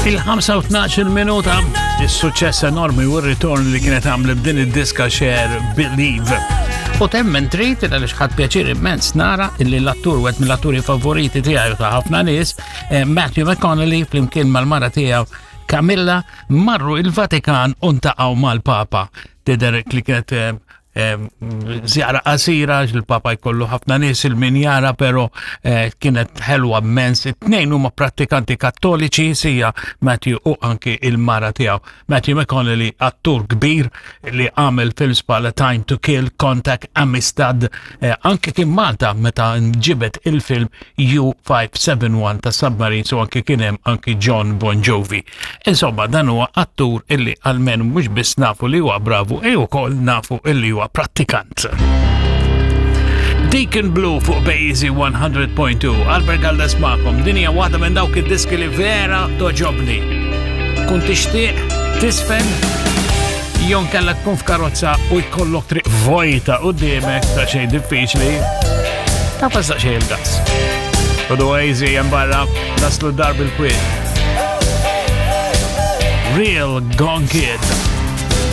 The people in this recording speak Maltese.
Il-5 minuta, is-suċċess enormi u r-ritorn li kienet għamlet b'din id-diska Cher Believe. U temmen trid għaliex ħadd pjaċir immens nara illi l-attur wieħed mill-atturi favoriti tiegħi ta' ħafna nies, eh, Matthew McConaughey flimkien mal-mara tiegħu Camilla marru il-Vatikan u ntaqgħu mal-Papa. Tidher li kienet eh, Zjara qasira, il-papa jkollu ħafna nies il-min jara, pero eh, kienet ħelwa immens. It-tnejn huma prattikanti kattoliċi, sija Matthew u anki il-mara tiegħu. Matthew McConaughey, attur kbir li għamel films bħala Time to Kill, Contact, Amistad, eh, anki kien Malta meta nġibet il-film U571 ta' Submarines u anki kien hemm anki John Bon Jovi. Insomma, dan huwa attur illi almenu mhux biss nafu li huwa bravu, e wkoll nafu illi huwa prattikant. Deacon Blue fuq Bazy 100.2 Albert Galdes magħkom, din hija waħda minn dawk id-diski li vera toġobni. Kun tixtieq tisfen jon kella tkun f'karozza u jkollok triq vojta qudiemek ta' xejn diffiċli. Ta' fassa xejn il-gas. U easy hemm barra naslu dar bil-kwiet. Real Gone Kid.